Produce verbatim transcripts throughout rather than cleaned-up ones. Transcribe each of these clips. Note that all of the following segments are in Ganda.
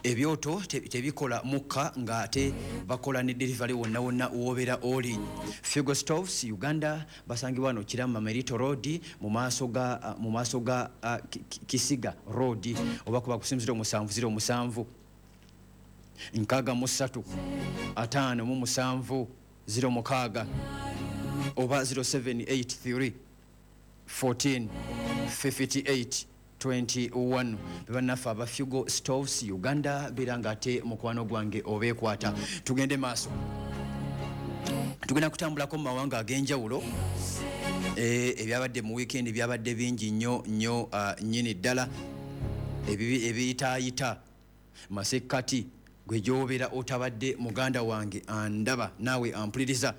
Ebyoto tebikola mukka, ng'ate bakola ne delivery wonna wonna wobeera oli. Figo Stoves Uganda basangibwa wano Kirama Merito Road, mu maaso ga mu maaso ga uh, Kisiga Road, oba kuba kusimu ziro musanvu ziro musanvu nkaaga mu ssatu ataano mu musanvu ziro mukaaga oba ziro seven eight three fourteen fifty eight twenty one. Bannaffe aba Figo Stoves Uganda, beera ng'ate mukwano gwange obeekwata. Tugende maaso, tugenda kutambulako mu mawanga ag'enjawulo. Ebyabadde mu weekend byabadde bingi nnyo nnyo nnyini ddala, ebiyitaayita masekkati gwe gy'obeera otabadde muganda wange andaba naawe ampuliriza,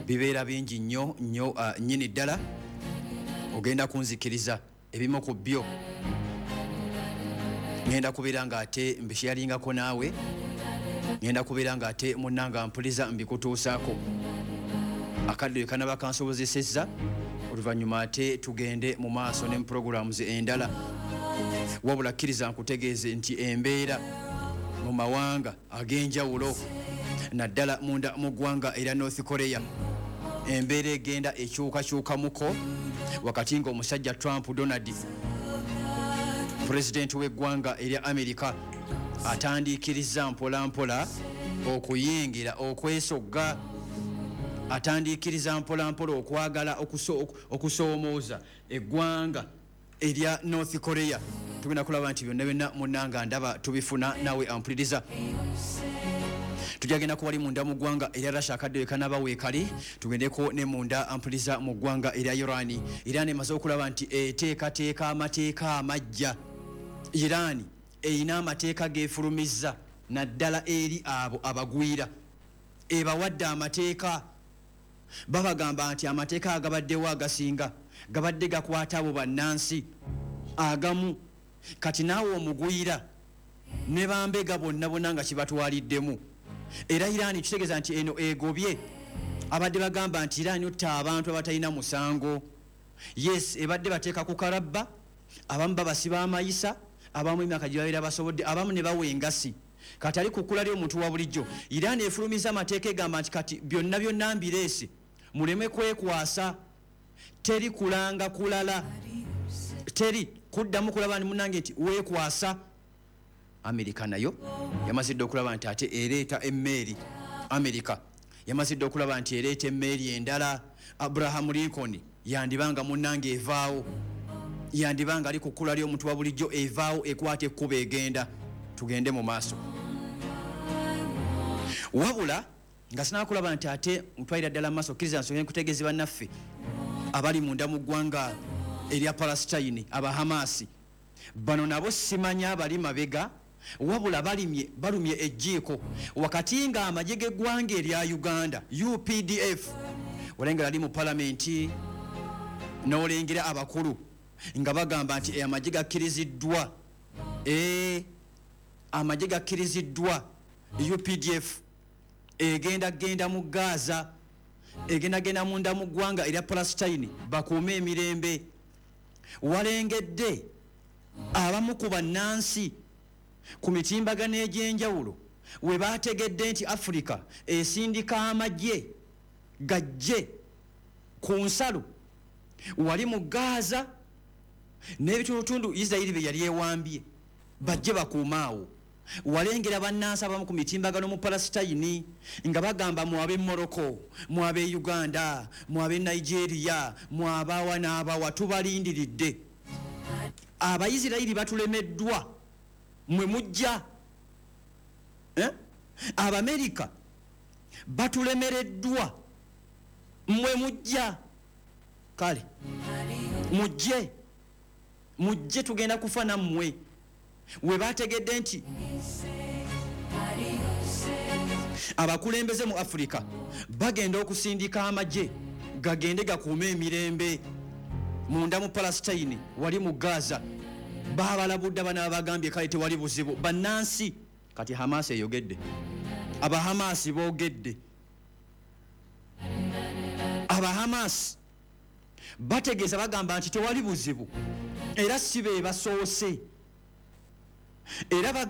bibeera bingi nnyo nnyo nnyini ddala. Ogenda kunzikiriza ebimu ku byo ngenda kubeera ng'ate mbisharingako naawe, ngenda kubeera ng'ate munnanga mpuliza mbikutuusaako akadde kanaba kansobozesezza. Oluvannyuma ate tugende mu maaso ne programs endala. Wabula kkiriza nkutegeeze nti embeera mu mawanga ag'enjawulo naddala munda mu ggwanga era North Korea embeera egenda ekyukakyukamuko, wakati ng'omusajja Trump Donald, pulezidenti w'eggwanga erya Amerika, atandiikiriza mpola mpola okuyingira okwesogga, atandiikiriza mpola mpola okwagala okusoomooza eggwanga erya North Korea. Tugenda kulaba nti byonna byonna munnanga ndaba tubifuna naawe ampuliriza. Tujagenda kuwali munda mu ggwanga erya Russia akadde kanaba weekali, tugendeko ne munda ampuliza mu ggwanga erya Iran. Iran emaze okulaba nti eteekateeka amateeka amajja. Iran erina amateeka geefulumizza naddala eri abo abagwira, ebawadde amateeka. Babagamba nti amateeka agabaddewo agasinga gabadde gakwata abo bannansi agamu, kati naawe omugwira ne bambega bonna bonna nga kibatwaliddemu. Era Iran kitegeeza nti eno egobye abadde bagamba nti Iran otta abantu abatalina musango. Yes, ebadde bateeka ku karabba, abamu babasiba amayisa, abamu emyaka gye babeera basobodde, abamu ne bawa engasi. Kati ali ku kkula ly'omuntu wa bulijjo. Iran efulumiza amateeka egamba nti kati byonna byonna mbireese, muleme kwekwasa, teri kulanga kulala, teri kuddamu kulaba ni munnange nti weekwasa. Amerika nayo yamazidde okulaba nti ate ereeta emmeeri. Amerika yamazidde okulaba nti ereeta emmeeri endala. Abraham Lincoln yandibanga munnange evaawo, yandibanga ali ku kkula ly'omuntu wa bulijjo, evaawo ekwata ekkubo egenda. Tugende mu maaso. Wabula nga sinaakulaba nti ate ntwalira ddala mu maaso, kkiriza nsooke nkutegeeze bannaffe abali munda mu ggwanga erya Palestine, Abahamasi. Bano nabo simanya abali mabega, wabula balimye balumye ejjiiko wakati nga amagye g'eggwanga erya Uganda U P D F olengera ali mu palamenti n'olengera abakulu nga bagamba nti amagye gakkiriziddwa, ee amagye gakkiriziddwa, U P D F egenda genda mu Gaza, egenda genda munda mu ggwanga erya Palestine bakuume emirembe. Walengedde abamu ku bannansi ku mitimbagano egy'enjawulo we baategedde nti Afrika esindika amagye gajje ku nsalo wali mu Gaza n'ebitundutundu Isirayiri bye yali ewambye, bajje bakuumaawo. Walengera bannansi abamu ku mitimbagano mu Palestine nga bagamba mwabe Morocco, mwabe Uganda, mwabe Nigeria, mwabawa n'abawa, tubalindiridde. Abayisirayiri batulemeddwa, mwe mujja. Eh? Abamerika batulemereddwa, mwe mujja. Kale mujje, mujje tugenda kufa nammwe. We bategedde nti abakulembeze mu Afrika bagenda okusindika amagye gagende gakuume emirembe munda mu Palestine wali mu Gaza. Babalabudde bano abagambye kale tewali buzibu bannansi. Kati Hamas eyogedde, Abahamasi boogedde, Abahamasi bategeeza bagamba nti tewali buzibu era si be basoose, era bagamba